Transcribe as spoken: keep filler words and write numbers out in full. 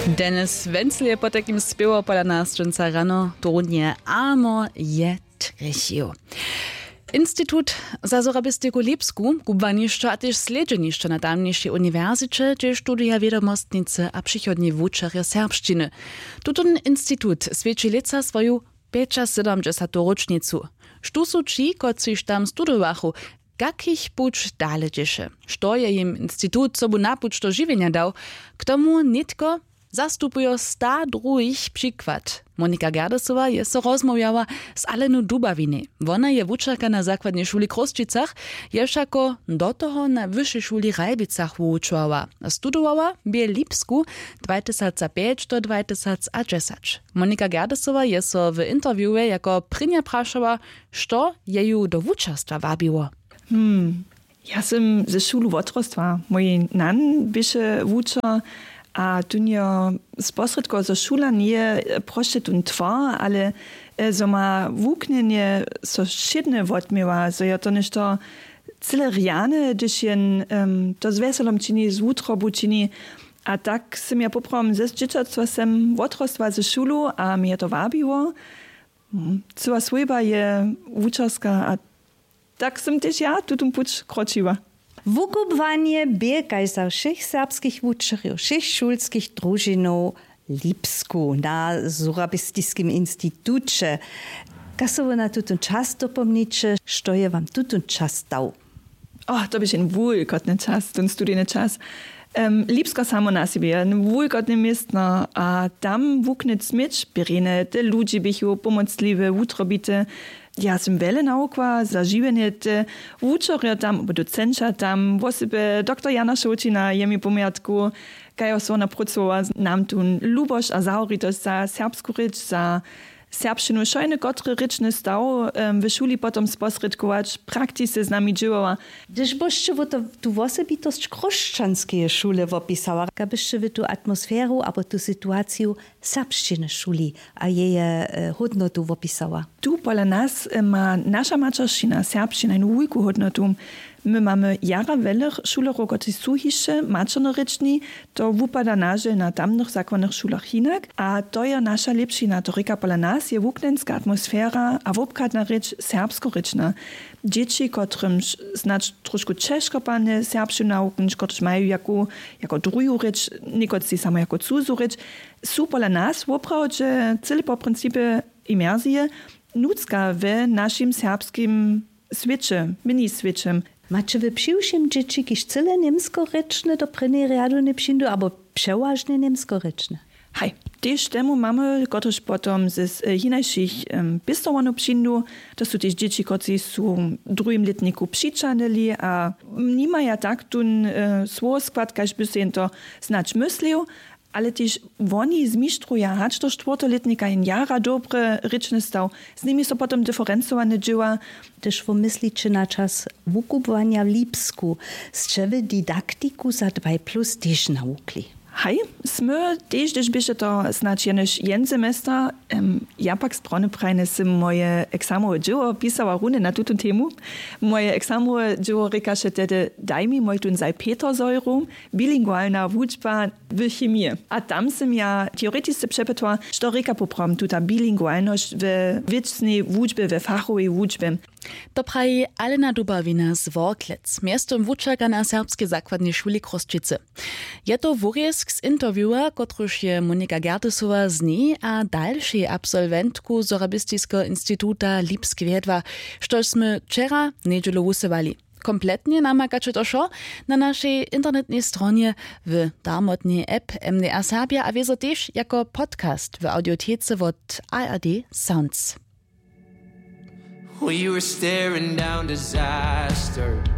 Dennis Wenzel je potajkim spěwał pola nas dźensa rano, tołnje amo je trjechił. Institut za sorabistiku w Lipsku, kubłanišćo a tež slědźenišćo na tamnišej uniwersiće, hdźež studuja wědomostnicy a přichodni wučerjo serbšćiny. Tutón institut swjeći lětsa swoju pjećasydomdźesatu róčnicu. Štó su ći, kotřiž tam studowachu, kak jich puć dale dźěše, što je jim institut sobu na puć do žiwjenja dał, k tomu nětko zastupujo sta druhich. Přikład, monika gerdesowa je so rozmołwjała z alenu dubawinej. Wona je wučerka na zakładnej šuli w chrósćicach, je wšako do toho na wyšej šuli w ralbicach wuwučowała a studowała w lipsku dwatysacpjeć do dwatysacdźesać. Monika gerdesowa je so w interviewje jako prěnja prašała, što je ju do wučerstwa wabiło. Hmm. Ja sym ze šulu wotrostła. Mój nan běše wučer a tunjo sposrědkował, zo šula njeje prosće tón twar, ale e, zo ma wuknjenje so wšědne wotměła, zo je to něšto cyle rjane, hdyž jen em, to z wjeselom čini, z wutrobu čini. A tak sym ja poprawom ze dźěćatstwa sem wotrostła ze šulu a mje je to wabiło. Hm, cyła swójba je wučerska a tak sym tež ja tutón puć kročiła. Wukubłanje bě kaž za wšěch serbskich wučerjow wšěch šulskich družinow w lipsku na surabistiskim instituće. Kaž so wy na tutón čas dopomniće, što je wam tutón čas dał? Oh, to běše jen wulkotny čas, ten studijny čas. Em, lipsko samo na sebje je jen wulkotne městno a tam wuknyć směć bě rjene, te ludźi běchu pomocliwe, wutrobite. Ja sym wjele nawukła za žiwjenje, te wučerjo tam abo docenća tam, wosebje doktor jana šołćina je mi pomjatku, kaž so wona prócowa nam tu lubosć a zahoritosć za serbsku rěč, za serbšćinu, wšojny kotry rěčny staw w šuli potom sposrědkować, praktisce z nami dźěłała. Hdyž byšće wy to tu wosebitosć chróšćanskeje šule wopisała, kak byšće wy tu atmosferu abo tu situaciju serbšćiny w šuli a jeje hódnotu wopisała? Tu pola nas ma naša maćeršćina serbšćina jenu wulku hódnotu. My mamy jara wjelech šulerjow kotřiž su hišće maćernorěčni. To wupada na žel na tamnych zakładnych šulach hinak a to je naša lěpšina, to rěka pola nas je wuknjenska atmosfera a wobchadna rěč serbskorěčna. Dźěći kotrymž snadź trošku ćežko padnje serbšćinu nawuknyć, kotryž maju jako jako druhu rěč, někotři samo jako cuzu rěč, su pola nas woprawdźe cyle po principje imersije nutřka w našim serbskim swěće, mini swěće. Maće wy přiwšěm dźěći kiž cyle němskorěčne do prěnjeje rjadowneje přińdu abo přewažnje němskorěčne? Haj, tež temu mamy kotryž potom z hinašich pěstowarnjow přińdu. To su tež dźěći kotřiž su w druhim lětniku přićahnyli a nimaja tak tón słowoskład kaž by sej jen to snadź myslił. Ale tež woni zmištruja hač do štwórteho lětnika jen jara dobry rěčny staw. Z nimi so potom diferencowane dźěła. Hdyž wómysliće na čas wukubłanja w lipsku, sće wy didaktiku za dwaj plus tež nawukli? Haj, smy tež hdyž běše to snadź jenož jen semester. Ja pak z brony prajnje sym moje eksamowe dźěło pisała runje na tutón temu. Moje eksamowe dźěło rěkaše tehdy daj mi mój tón zaj peter zojru, bilingualna wučba w chemije. A tam sym ja teoretisce přepytła, što rěka poprawom tuta bilingualnosć we wěcnej wučbje, we fachowej wučbje. To praji alena dubawina z worklec, mjeztym wučerka na serbskej zakładnej šuli chrósćicy. Je to wurězk z interviewa, kotruž je monika gerdesowa z njej a dalšej absolwentku sorabistiskeho instituta lipsk wjedła, štož smy wčera njedźelu wusyłali. Kompletnje namakaće to wšo na našej internetnej stronje, w darmotnej app mdr serbja a wězo tež jako podcast w audiotece wot ard sounds. We were staring down disaster.